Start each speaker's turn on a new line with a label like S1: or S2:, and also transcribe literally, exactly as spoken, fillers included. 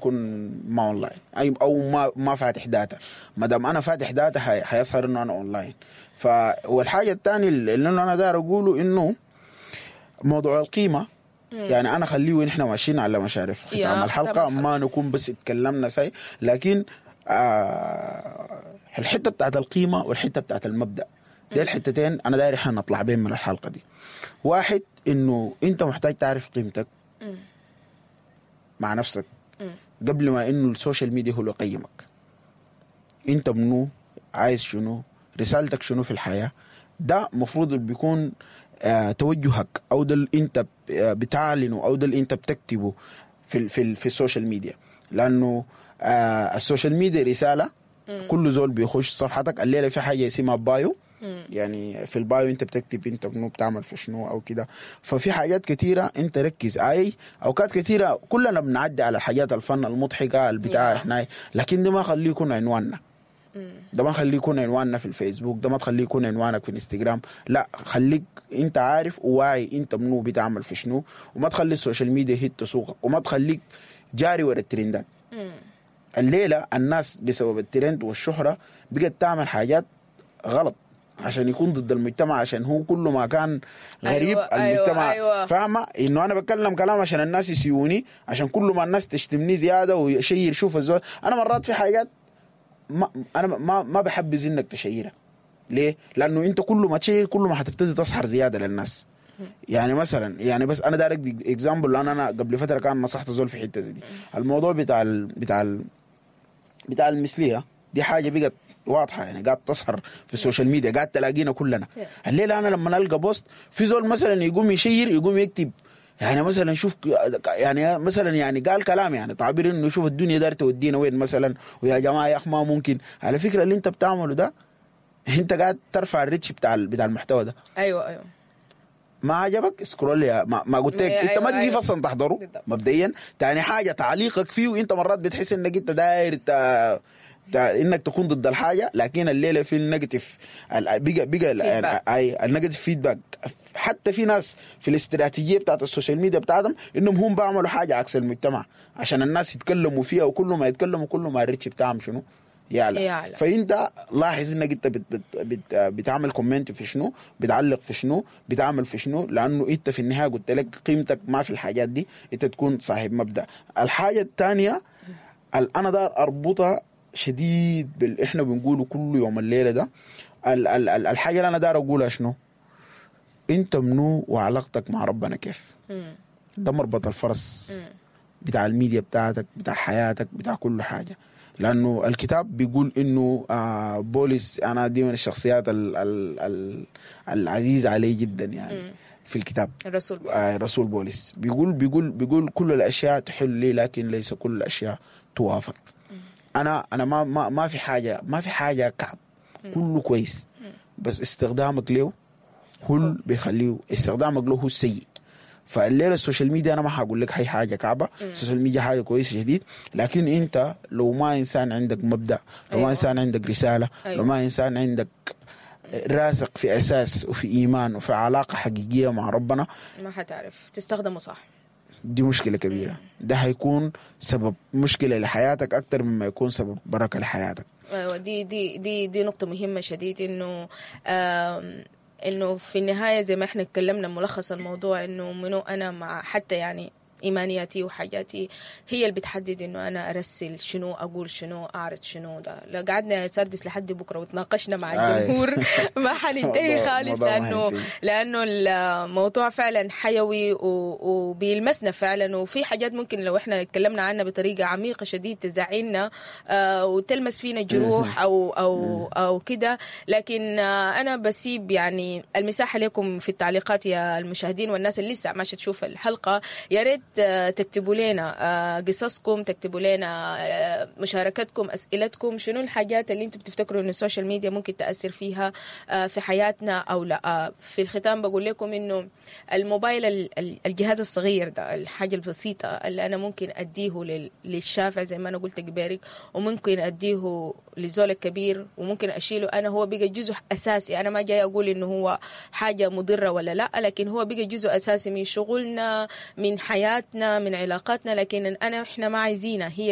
S1: بكون ما اونلاين اي او ما ما فاتح data. ما دام انا فاتح data حي- حيظهر انه انا اونلاين. ف والحاجة الثانية اللي انا داير اقوله انه موضوع القيمة، يعني انا خليه ونحن ماشيين على مشارف ختام
S2: يا ختام
S1: الحلقة،
S2: الحلقة.
S1: ما نكون بس اتكلمنا ساي، لكن آه الحتة بتاعت القيمة والحتة بتاعت المبدا، دي الحتتين انا داير احنا نطلع بين من الحلقة دي. واحد، انه انت محتاج تعرف قيمتك مع نفسك قبل ما انه ال social media هو اللي يقيمك. انت منو؟ عايز شنو؟ رسالتك شنو في الحياة؟ ده مفروض بيكون آه توجهك، او ده اللي انت ب- آه، بتعلنه، او ده اللي انت بتكتبه في ال في, ال في ال social media، لانه آه ال social media رساله. كل زول بيخش صفحتك الليلة في حاجة اسمها bio، يعني في ال bio انت بتكتب انت منو، بتعمل في شنو او كده. ففي حاجات كثيرة انت ركز، اي اوقات كثيرة كلنا بنعدي على الحاجات ال fun المضحكة البتاع
S2: Yeah.
S1: احنا، لكن ده ما خليه يكون عنواننا، ده ما خليه يكون عنواننا في الفيسبوك، ده ما تخليه يكون عنوانك في الانستغرام. لا، خليك انت عارف وواعي انت منو، بتعمل في شنو، وما تخلي ال social media هي تسوقك، وما تخليك جاري ورا الترندات. الليلة الناس بسبب الترند والشهرة بقت تعمل حاجات غلط عشان يكون ضد المجتمع، عشان هو كل ما كان غريب
S2: أيوة، أيوة،
S1: المجتمع.
S2: أيوة.
S1: فاهمه انه انا بتكلم كلام عشان الناس يسيوني، عشان كل ما الناس تشتمني زيادة ويشير. شوف الزول، انا مرات في حاجات ما انا ما ما بحبذ انك تشيرها. ليه؟ لانه انت كل ما تشير كل ما حتبتدي تظهر زيادة للناس. يعني مثلا، يعني بس انا داير ادي example، لان انا قبل فترة كان نصحت زول في حتة زي دي. الموضوع بتاع ال بتاع ال بتاع المثلية، دي حاجة بقت واضحه، يعني قاعد تظهر في ال social media، قاعد تلاقينا كلنا. الليلة انا لما القى post في زول مثلا يقوم يشير، يقوم يكتب يعني مثلا شوف، يعني مثلا يعني قال كلام، يعني تعبير انه شوف الدنيا داير تودينا وين مثلا، ويا جماعة يا اخ ما ممكن. على فكرة اللي انت بتعمله ده انت قاعد ترفع ال reach بتاع بتاع المحتوى ده.
S2: ايوه ايوه
S1: ما عجبك scroll، يا ما, ما قلت لك
S2: أيوة
S1: انت ما تجي
S2: أيوة.
S1: اصلا تحضره.
S2: بالضبط.
S1: مبدئيا تاني حاجة تعليقك فيه، وانت مرات بتحس انك انت داير ت... ت... انك تكون ضد الحاجه، لكن الليلة في ال negative ال- بقى بقى
S2: Feedback.
S1: اي ال negative feedback. حتى في ناس في الاستراتيجية بتاعت ال social media بتاعتهم انهم هم بيعملوا حاجة عكس المجتمع عشان الناس يتكلموا فيها، وكل ما يتكلموا كل ما ال reach بتاعهم شنو يعلى.
S2: يعلى.
S1: فانت لاحظ انك انت بت بت بت بتعمل comment في شنو، بتعلق في شنو، بتعمل في شنو، لانه انت في النهاية قلت لك قيمتك ما في الحاجات دي، انت تكون صاحب مبدا. الحاجة الثانية اللي انا دار اربطها شديد باللي احنا بنقوله كل يوم الليلة ده، ال ال ال الحاجة اللي انا دار اقولها شنو؟ انت منو وعلاقتك مع ربنا كيف؟ ده مربط الفرس بتاع الميديا بتاعتك، بتاع حياتك، بتاع كل حاجة. لانه الكتاب بيقول انه آه بولس، انا دي من الشخصيات ال ال ال العزيزة علي جدا يعني في الكتاب.
S2: الرسول بولس.
S1: آه رسول بولس بيقول بيقول بيقول كل الاشياء تحل لي لكن ليس كل الاشياء توافق. انا انا ما ما ما في حاجة ما في حاجة كعب، كله كويس، بس استخدامك له هو اللي بيخليه، استخدامك له هو السيء. فالليله ال social media انا ما حقول لك هي حاجة كعبه، ال social media حاجة كويسة شديد، لكن انت لو ما انسان عندك مبدا، لو
S2: أيوة.
S1: ما انسان عندك رساله،
S2: أيوة.
S1: لو ما انسان عندك راسخ في اساس وفي ايمان وفي علاقة حقيقية مع ربنا،
S2: ما حتعرف تستخدمه صح.
S1: دي مشكلة كبيرة. ده حيكون سبب مشكلة لحياتك اكثر مما يكون سبب بركة لحياتك.
S2: ايوه، دي دي دي دي نقطة مهمة شديد، انه آم، انه في النهاية زي ما احنا اتكلمنا ملخص الموضوع انه منو انا مع حتى يعني ايمانياتي وحاجاتي هي اللي بتحدد انه انا ارسل شنو، اقول شنو، اعرض شنو. ده لو قعدنا يا سردس لحد بكره وتناقشنا مع
S1: آي.
S2: الجمهور ما حننتهي
S1: موضوع-
S2: خالص،
S1: موضوع ما
S2: لانه
S1: حينتهي.
S2: لانه الموضوع فعلا حيوي و- وبيلمسنا فعلا، وفي حاجات ممكن لو احنا اتكلمنا عنها بطريقة عميقة شديد تزعلنا آه، وتلمس فينا جروح او او او كده. لكن آه، انا بسيب يعني المساحة لكم في التعليقات يا المشاهدين والناس اللي لسه ماشية تشوف الحلقه، يا ريت آه، تكتبوا لنا آه، قصصكم، تكتبوا لنا آه، مشاركتكم، اسئلتكم، شنو الحاجات اللي انتم بتفتكروا انه ال social media ممكن تاثر فيها آه، في حياتنا او لا. آه، في الختام بقول لكم انه الموبايل ال- ال- الجهاز الصغير ده، الحاجة البسيطة اللي انا ممكن اديه لل- للشافع زي ما انا قلت قبالك، وممكن اديه للزول الكبير، وممكن اشيله انا، هو بقى جزء اساسي. انا ما جاي اقول انه هو حاجة مضرة ولا لا، لكن هو بقى جزء اساسي من شغلنا، من حياتنا، من علاقاتنا، لكن انا احنا ما عايزينها هي.